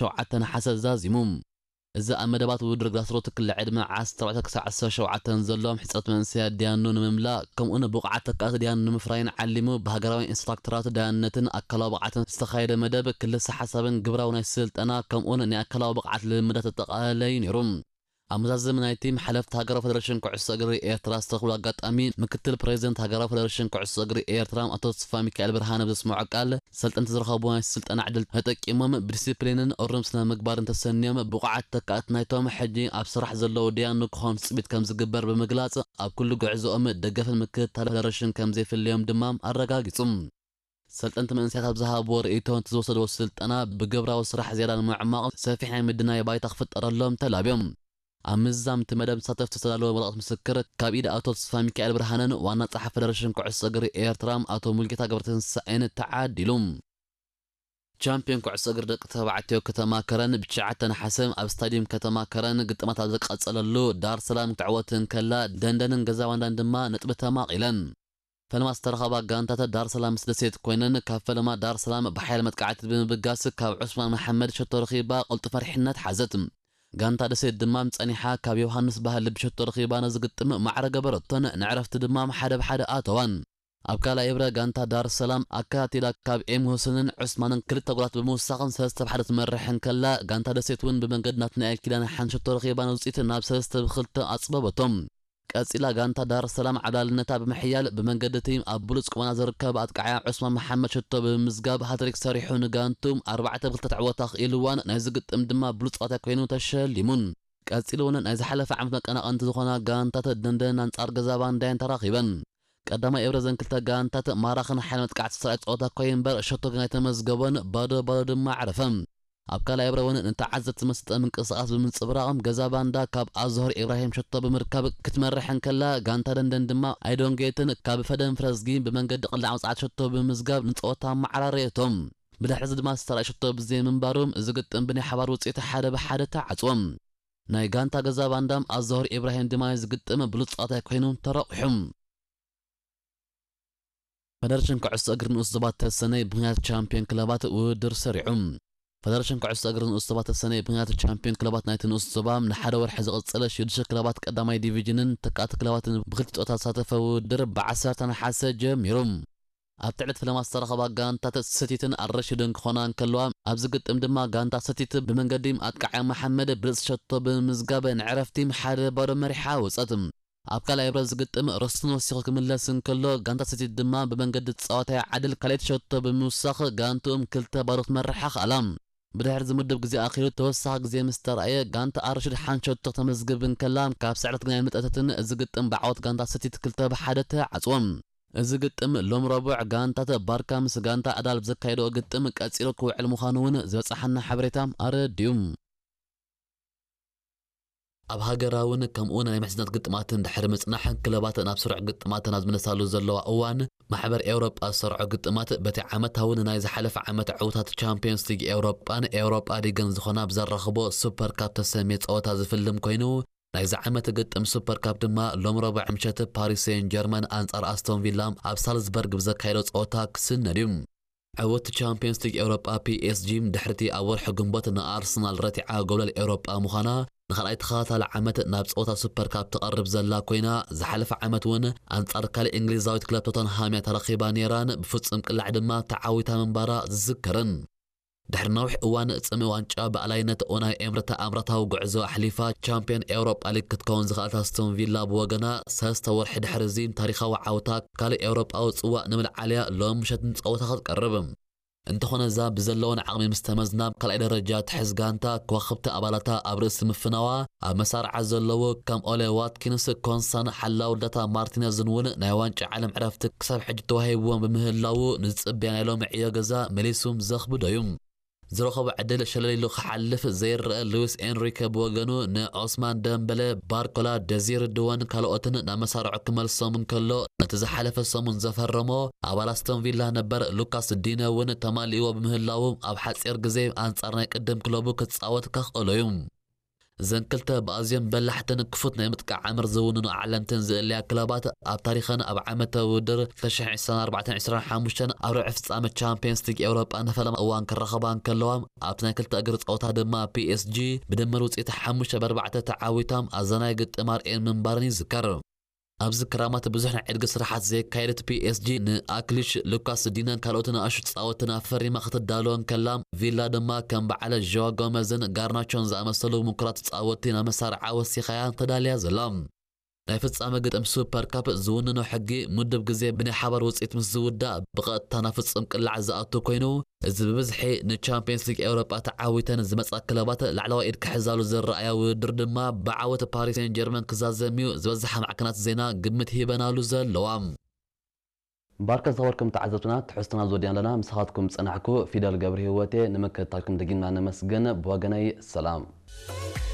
ሸውዓተ ነሓሰ ዛዚሙ። እዚ ኣብ መደባት ውድድር ግራስሩት ክሊ ዕድመ ዓሰርተ ኣርባዕተ ክሳብ ዓሰርተ ሸውዓተ ዘለዎም ሕጽረት መንእሰያት ዳያኑ ንምምላእ፣ ከምኡውን ብቑዓት ተካእቲ ዳያኑ ንምፍራይን ዓሊሙ፣ ብሃገራዊ ኢንስትራክተራት ዳያነትን ኣካላዊ ብቕዓትን ዝተኻየደ መደብ፣ ክልሰ ሓሳብን ግብራዊ ናይ ስልጠና፣ ከምኡውን ናይ ኣካላዊ ብቕዓት ልምምዳት ዘጠቓለለ እዩ ነይሩ። ኣብ መዛዘሚ ናይቲ፣ ሓለፍቲ ሃገራዊ ፈደረሽን ኩዕሶ እግሪ ኤርትራ ዝተረኽብሉ ኣጋጣሚ፣ ምክትል ፕሬዚደንት ሃገራዊ ፈደረሽን ኩዕሶ እግሪ ኤርትራ ኣቶ ተስፋ ሚካኤል ብርሃነ ብዘስምዖ ቃል፣ ሰልጠንቲ ዝረኸብዎ ናይ ስልጠና ዕድል ተጠቂሞም፣ ብዲሲፕሊንን እሩም ስነ ምግባርን ተሰንዮም፣ ብቑዓት ተካእቲ ናይቶም ሕጂ ኣብ ስራሕ ዘለዉ ዳያኑ ክኾኑ ትጽቢት ከም ዝግበር ብምግላጽ፣ ኣብ ኩሉ ጉዕዞኦም ደገፍን ምክትታል ፈደረሽን ከም ዘይፍለዮም ድማ ኣረጋጊጹ። ሰልጠንቲ መንእሰያት ኣብ ዝሃብዎ ርእይቶ፣ እቲ ዝወሰድዎ ስልጠና ብግብራዊ ስራሕ ዝያዳ ንምዕማቕ ሰፊሕ ናይ ምድናይ ባይታ ክፍጠረሎም ተላብዮም። ኣብ ምዝዛም እቲ መደብ ዝሳተፍ ዝተዳለወ ወረቐት ምስክር፣ ካብ ኢድ ኣቶ ተስፋ ሚካኤል ብርሃነን ዋና ጸሓፊ ፈደረሽን ኩዕሶ እግሪ ኤርትራ ኣቶ ሙልጌታ ገብረትንሳኤን ተዓዲሉ። ቻምፒዮን ኩዕሶ እግሪ ደቂ ተባዕትዮ ከተማ ከረን ብትሽዓተ ነሓሰ ኣብ ስታዲየም ከተማ ከረን ግጥማት ኣብ ዝቐጸለሉ፣ ዳር ሰላም ክትዕወት እንከላ፣ ደንደንን ገዛ ባንዳን ድማ ነጥቢ ተማቒለን። ፈለማ ዝተረኸባ ጋንታታት ዳር ሰላም ምስ ደሴት ኮይነን፣ ካብ ፈለማ ዳር ሰላም ብሓያል መጥቃዕቲ ብምብጋስ፣ ካብ ዑስማን መሓመድ ሸቶ ረኺባ ቅልጡፍ መሪሕነት ሓዘት። ጋንታ ደሴት ድማ ጸኒሓ ካብ ዮሃንስ ባህሊ ብሸቶ ረኺባ ነዚ ግጥም ማዕረ ገበረቶን፣ ንዕረፍቲ ድማ ሓደ ብሓደ ኣተዋን። ኣብ ካልኣይ እብረ ጋንታ ዳር ሰላም ኣከታቲላ ካብ ኤም ሁሴንን ዑስማንን ክልተ ጎላት ብምውሳኽን ሰለስተ ብሓደ ትመርሕ እንከላ፣ ጋንታ ደሴት እውን ብመንገዲ ናትናኤል ኪዳነ ሓንቲ ሸቶ ረኺባ ንውጽኢት ናብ ሰለስተ ብኽልተ ኣጽበበቶም። ቀጺላ ጋንታ ዳር ሰላም ዓብላልነታ ብምሕያል፣ ብመንገዲ እቲ ኣብ ብሉጽ ቁመና ዝርከብ ኣጥቃዓያ ዑስማን መሓመድ ሸቶ ብምምዝጋብ ሃትሪክ ሰሪሑ ንጋንቱ ኣርባዕተ ብኽልተ ተዕወታ ክኢልዋን፣ ናይዚ ግጥም ድማ ብሉጽ ጸወታ ኮይኑ ተሸሊሙን። ቀጺሉ እውን ናይ ዝሓለፈ ዓመት መቀናቐንቲ ዝኾና ጋንታት ደንደን ኣንጻር ገዛ ባንዳየን ተራኺበን። ቀዳማይ እብረ ዘን ክልተ ጋንታት ማራኽን ሓይል መጥቃዕቲ ዝተራእየ ጸወታ ኮይኑ እምበር፣ ሸቶ ግን ኣይተመዝገቦን፣ ባዶ ባዶ ድማ ኣዕረፈ። ኣብ ካልኣይ እብረ እውን ንተዓዘብቲ ዝመሰጠ ምንቅስቓስ ብምንጽብራቕ፣ ገዛ ባንዳ ካብ ኣዝሆር ኢብራሂም ሸቶ ብምርካብ ክትመርሕ እንከላ፣ ጋንታ ደንደን ድማ ኣይዶንጌትን ካብ ፈደን ፍረዝጊን ብመንገዲ ቅላዕ መጽዓት ሸቶ ብምምዝጋብ ንጸወታ ኣመዓራረየቶም። ብድሕሪ እዚ ድማ ዝተራእየ ሸቶ ብዘይምንባሩ፣ እዚ ግጥም ብናይ ሓባር ውጽኢት ሓደ ብሓደ ተዓጽወ። ናይ ጋንታ ገዛ ባንዳም ኣዝሆር ኢብራሂም ድማ እዚ ግጥም ብሉጽ ጸወታ ኮይኑ ተረቑሑ። ፈደረሽን ኩዕሶ እግሪ ንኡስ ዞባ ተሰነይ ብምኽንያት ቻምፒዮን ክለባት ውድድር ሰሪዑ። ፈደረሽን ኩዕሶ እግሪ ንኡስ ዞባ ተሰነይ ብምኽንያት ቻምፒዮን ክለባት ናይቲ ንኡስ ዞባ ንሓደ ወርሒ ዝቕጽል ሽዱሽተ ክለባት ቀዳማይ ዲቪዥንን ተካእቲ ክለባትን ብክልተ ጾታ ዝሳተፈ ውድድር ብዓሰርተ ነሓሰ ጀሚሩ። ኣብቲ ዕለት ፈለማ ዝተረኸባ ጋንታት ሰቲትን ኣልረሽድን ክኾና እንከለዋ፣ ኣብዚ ግጥም ድማ ጋንታ ሰቲት ብመንገዲ ኣጥቃዓያ መሓመድ ብልጽ ሸቶ ብምምዝጋብ ንዕረፍቲ ሓደ ባዶ መሪሓ ወጸት። ኣብ ካልኣይ ብረት ዝግጥም ርስትን ወሲኹ ክምለስ እንከሎ፣ ጋንታ ሰቲት ድማ ብመንገዲ ጸዋታያ ዓድል ካልኣይቲ ሸቶ ብምውሳኽ ጋንትኡም ክልተ ባዶ ክትመርሕ ኣኽኣላ። ብድሕሪ እዚ ምድብ ግዜ ኣኺሉ ተወሳኺ ግዜ ምስ ተራእየ፣ ጋንታ ኣርሽድ ሓንቲ ሸቶ ክተመዝግብ እንከላ፣ ካብ ስዕረት ግና ኣይመጠተትን። እዚ ግጥም ብዓወት ጋንታ ሰቲት ክልተ ብሓደ ተዓጽዎ። እዚ ግጥም ሎም ረቡዕ ጋንታት ባርካ ምስ ጋንታ ኣዳል ብዘካየድኦ ግጥም ቀጺሉ ክውዕል ምዃኑ እውን ዝበጻሓና ሓበሬታ ኣረዲኡ። ኣብ ሃገራውን ከምኡ ናይ ምሕዝነት ግጥማትን ድሕሪ ምጽናሕ፣ ክለባት ናብ ስሩዕ ግጥማተን ኣብ ዝምለሳሉ ዘለዋ እዋን፣ ማሕበር ኤውሮጳ ዝሰርዖ ግጥማት በቲ ዓመታዊ ንናይ ዝሓለፈ ዓመት ዕዉታት ቻምፒዮንስ ሊግ ኤውሮጳን ኤውሮጳ ሊግን ዝኾና ብዘራኽቦ ሱፐር ካፕ ተሰምየ ጸወታ ዝፍልም ኮይኑ፣ ናይዚ ዓመት ግጥም ሱፐር ካፕ ድማ ሎም ረቡዕ ምሸት ፓሪስ ሴን ጀርመን ኣንጻር ኣስቶን ቪላ ኣብ ሳልዝበርግ ብዘካየዶ ጸወታ ክስነድ እዩ። ዕውት ቻምፒየንስ ሊግ ኤውሮጳ ፒኤስጂ ድሕሪቲ ኣብ ወርሒ ግንቦት ንኣርሰናል ረቲዓ ጎብለል ኤውሮጳ ምዃና፣ ንኻልኣይ ተኸታታሊ ዓመት ናብ ጸወታ ሱፐር ካፕ ትቐርብ ዘላ ኮይና፣ ዝሓለፈ ዓመት እውን ኣንጻር ካልእ እንግሊዛዊት ክለብ ቶተንሃም እያ ተረኺባ ነይራን ብፍጹም ቅላዕ ድማ ተዓዊታ ምንባራ ዝዝከርን። ድሕሪ ነዊሕ እዋን ጽምኢ ዋንጫ ብኣላይነት ኡናይ ኤምሪ ተኣምራታዊ ጉዕዞ ኣሕሊፋ ቻምፒዮን ኤውሮጳ ሊግ ክትከውን ዝኽኣለት ኣስቶን ቪላ ብወገና፣ ሰለስተ ወርሒ ድሕሪ እዚ ታሪኻዊ ዓውታ ካልእ ኤውሮጳዊ ጽዋእ ንምልዓልያ ሎም ምሸት ንጸወታ ክትቀርብ። እንተኾነ እዛ ብዘለወን ዓቕሚ ምስ ተመዝና ካልኣይ ደረጃ ትሕዝ ጋንታ ከዋኽብቲ ኣባላታ ኣብ ርእሲ ምፍናዋ ኣብ መሳርዓ ዘለዉ ከም ኦሌ ዋትኪንስ፣ ኮንሳን ሓላው ልደታ ማርቲነዝን እውን ናይ ዋንጫ ዓለም ዕረፍቲ ክሳብ ሕጂ ተዋሂብዎም ብምህላዉ ንዝጽበያ ናይ ሎሚ ዕዮ ገዛ መሊሱ ዘኽብዶ እዩ። ዝረኸቦ ዕድል ሸለል ኢሉ ክሓልፍ ዘይረአ ሉዊስ ኤንሪከ ብወገኑ ንዖስማን ደምበለ፣ ባርኮላ፣ ደዚር ድወን ካልኦትን ናብ መሳርዖ ክመልሶም እንከሎ፣ ነቲ ዝሓለፈ ሰሙን ዘፈረሞ ኣባል ኣስቶን ቪላ ነበር ሉካስ ዲነ እውን ተማሊእዎ ብምህላዉ ኣብ ሓጺር ግዜ ኣንጻር ናይ ቅድም ክለቡ ክጻወት ከኽእሎ እዩ። እዘን ክልተ ብኣዝዮም በላሕትን ክፉት ናይ ምጥቃዕ ኣምር ዝውንኑ ዓለምትን ዝእለያ ክለባት ኣብ ታሪኸን ኣብ ዓመታዊ ውድድር ክልተ ሽሕን ዕስራን ኣርባዕተን ዕስራን ሓሙሽተን ኣብ ርብዒ ፍጻመ ቻምፒየንስ ሊግ ኤውሮጳ ንፈለማ እዋን ክራኸባ እንከለዋ ኣብቲ ናይ ክልተ እግሪ ጸወታ ድማ ፒ ኤስ ጂ ብድምር ውጽኢት ሓሙሽተ ብ ኣርባዕተ ተዓዊታ ኣዘናይ ግጥም ኣርእየን ምንባረን ይዝከር። ኣብዚ ክራማት ብዙሕ ናይ ዕድጊ ስራሓት ዘየካየደት ፒ ኤስ ጂ ንኣክሊሽ፣ ሉካስ ዲነን ካልኦት ንኣሽቱ ተጻወትን ኣፈሪማ ክትዳሎ እንከላ ቪላ ድማ ከም በዓል ዦዋ ጎመዝን ጋርናቾን ዝኣመሰሉ ምኩራት ተጻወቲ ናብ መሳርዓ ወሲኻያ ተዳልያ ዘላ። ናይ ፍጻመ ግጥም ሱፐር ካፕ ዝውንኖ ሕጊ ምድብ ግዜ ብናይ ሓባር ውጽኢት ምስ ዝውዳእ ብቐጥታ ናብ ፍጹም ቅላዕ ዝኣቱ ኮይኑ፣ እዚ ብብዝሒ ንቻምፒየንስ ሊግ ኤውሮጳ ተዓዊተን ዝመጻ ክለባት ላዕለዋይ ኢድ ክሕዛሉ ዝረኣያ ውድድር ድማ ብዓወት ፓሪስ ሴን ጀርመን ክዛዘም እዩ ዝበዝሓ ማዕከናት ዜና ግምት ሂበናሉ ዘለዋ። ባርከ ዝኸበርኩም ተዓዘብትና ትሕዝትና ዝወዲና ኣለና። ምሳኻትኩም ጸናሕኩ ፊደል ገብረ ህይወቴ። ንምክትታልኩም ደጊምና ነመስግን። ብወገነይ ሰላም።